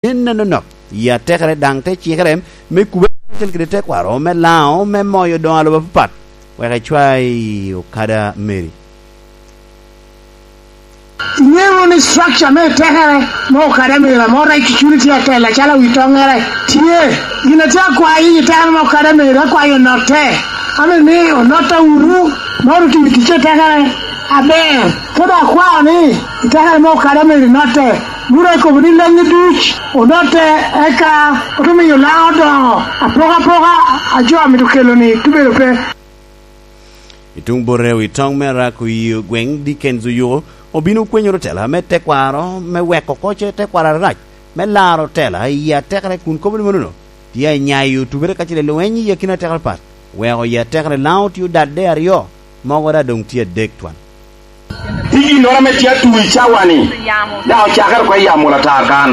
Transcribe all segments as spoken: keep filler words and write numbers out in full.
nen anonok i atekere, daŋ te cikere me kubere karacel kede tekwaro me Laŋo me moyo doŋo a lobo apapat, wek ecwa i okada meri. Iŋeo wunu ni structure me tekere me okada meri ame orec cucuni tye atela acalo wi toŋere tye. Gin atye akwayo i tekere me okada meri, akwayo onotte. Ame ni onotta wunu, moro otiyo ticce tekere aber. Kede akwao ni i tekere me okada meri notte, wuro ekobo ni lenni duc onotte, eka otumiyo Laŋo doŋo apokapoka a jo amito kelo-ni tubedo pe. I tuŋ bote, wi toŋ me Arak Oyio gweŋ, Dickens Oyuko, obino kwenyoro tela me tekwaro me weko koce tekwaro arac me laro tela i atekere, kun kobo ni manono tye anyayo tubere kacel i lweny i akina atekere pat, weko i atekere Laŋo tye odadde aryo, mogo daŋ doŋ tye adek twan. Pi ginnoro ame tye atu i cawa-ni, daŋ ocakere oko i Amolatar kan,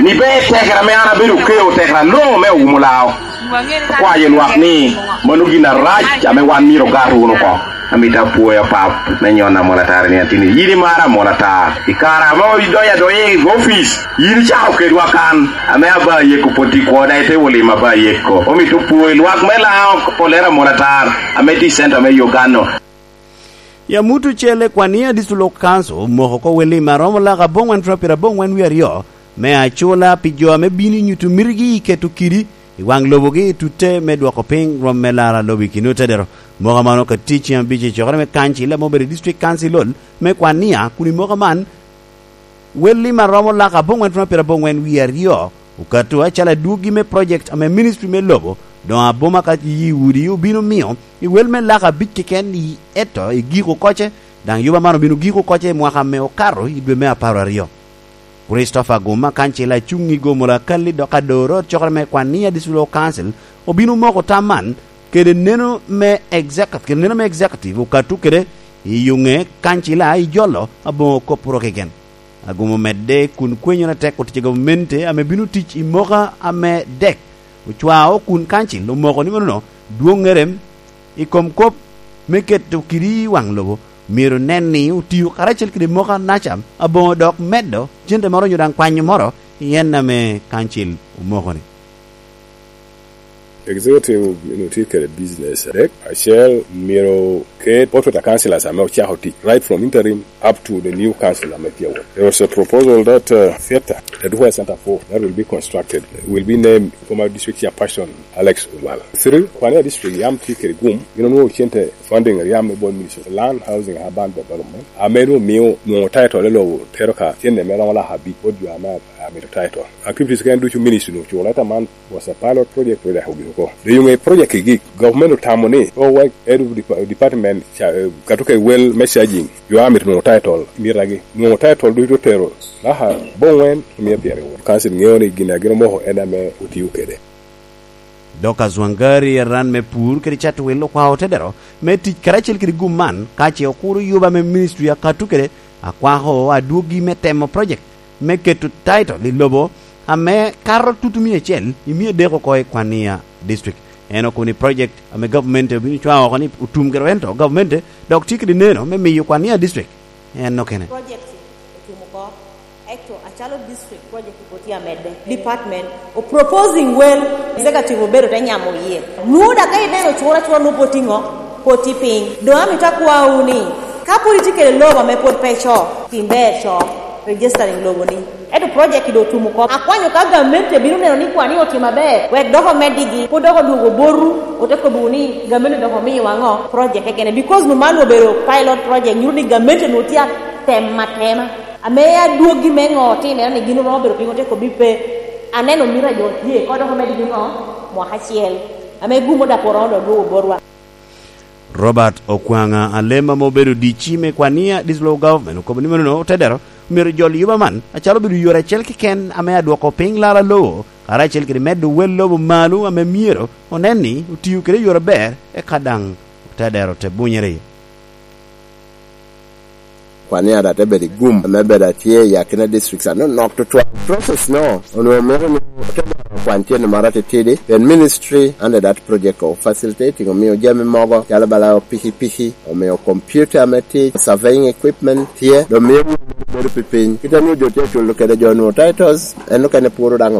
ni ber tekere ame an abedo okeo, tekere aloŋo me Owumo Laŋo. Akwayo lwak ni mano gin arac ame wan myero ogat wunu oko. Amito apwoyo apap me nyon Amolatar i nino atini. Yin imaro Amolatar. I kare ame idonyo adonya i opic, yin icako kedwa kan, ame aba yeko pwod tye kwoda, ite wolimo aba yeko. Omito pwoyo lwak me Laŋo, Olero Amolatar, ame tye i center me Uganda. Ya muto cel, Kwania District Local Council omoko oko wel lim a romo lak aboŋwen twen pyerabongwen wie aryo me acula pi jo ame bino i nyuto mitigi i keto kidi i waŋ lobogi i tutte me dwoko piny rwom me laro lobo i kin otedero. Moko a mano ka tic ceng abic i cokere me kancil ame obedo i District Council Hall me Kwania, kun i moko man wel lim a romo lak aboŋwen twen pyerabongwen wie aryo okato acalo adwoggi me project ame Ministry me Lobo doŋ aboma ka yi udi obino miyo i wel me lak abic keken i eto i giko koce, daŋ yuba man obino giko koce i mwaka ame okato i dwe me apar aryo. Christopher Guma, kancila acuŋ i gomola Kalli dok adoro cokere me Kwania District Council, obino moko tam man kede neno me executive, kede neno me executive okato kede i yuŋe kancila i jolo aboŋo kop oro keken. Aguma omedde kun kwenyoro atek otic a gavumenti ame bino tic i moka ame dek ocwao kun kancil omoko ni manono dwoŋŋere i kom kop me keto kidi i waŋ lobo myero nen ni otio karacel kede moka naca aboŋo dok medo cente moro onyo daŋ kwanyo moro i en ame kancil omoko-ni. Executive, you know, tye kede business adek. Acel, myero ket portrait of councillors ame ocako tic, right from interim up to the new council ame tye awot. There was a proposal that, uh, theatre, the Duhwa Center four, that will be constructed, will be named former district chairperson Alex Odwal. Three, Kwania District yam tye kede gum, gin onwoŋo cente funding yam me bot Ministry of Land, Housing and Urban Development, ame nwoŋo miyo nwoŋo title i lobo tero ka cente me romo lak abic bot jo ame amito title. Activities keken ducu Ministry nwoŋo oculo, ento man was a pilot project, project ogik oko. Doŋ i ŋe project kigik, government otamo ni, o, wek head of depa-, department, ca-, eh, kato kede wel me charging, jo a mito nwoŋo title, mitagi. Nwoŋo title ducu otero, aha, boŋwen, mia pyeraryo. Council ŋeo ni gin a gin omoko en ame otio kede. Dorcas Wangari, aran me pur kede cato wil, okwao tedero me tic karacel kede gum man, ka ce okuro yuba me ministry akato kede akwako adwogi me temo project me keto title i lobo ame kato tutu mia acel i mia adek oko i Kwania District. En okobo ni project ame gavumenti obino cwao oko ni otum kede rento gavumenti dok tye kede neno me miyo Kwania District en okene. Project otum oko, ento acalo district project oko tye amedde. Department o proposing well, executive obedo te nyamo iye. Nwoŋo dak ka ineno cura cura nwoŋo pwod tye ŋo? Pwod tye piny. Doŋ amito akwawu ni, ka pwod itye kede lobo ame pwod pe co, tim ber co, registering lobo ni. Ento project doŋ otum oko. Akwanyo ka gamente bino neno ni Kwania otimo aber, wek dok omeddigi, pwod dok odwogo botu, ote kobbiwu ni gamente dok omiyowa ŋo? Project kekene. Because nwoŋo man obedo pilot project, nyuto ni gamente nwoŋo tye atem atema. Ame adwoggi me ŋo otimere ni gin oromo bedo piny, ote kobbi pe. Aneno mito a jo tye, ko dok omeddigi ŋo? Mwaka acel. Ame gum oda poro ŋo dok dwogo botwa. Robert Okwaŋa, alem ame obedo D C me Kwania District Local Government, okobo ni manono otedero myero jol yuba man acalo obedo yore acel keken ame adwoko piny laro lobo, karacel kede medo wel lobo malo ame myero onen ni otio kede yore aber, eka daŋ otedero te bunyere iye. Kwan ni ada te bedo i gum ame bedo atye i akina districts anonok tutwal. Process no onwongo mito ni ote dwaro kwan cente moro atitidi, pien ministry under that project of facilitating omio jami mogo calo bala pikipiki, omio computer me tic, surveying equipment tye, dok mio bedo pi piny. Kit a nwoŋo jo tye aculo kede jo nwoŋo titles, en okene puro daŋ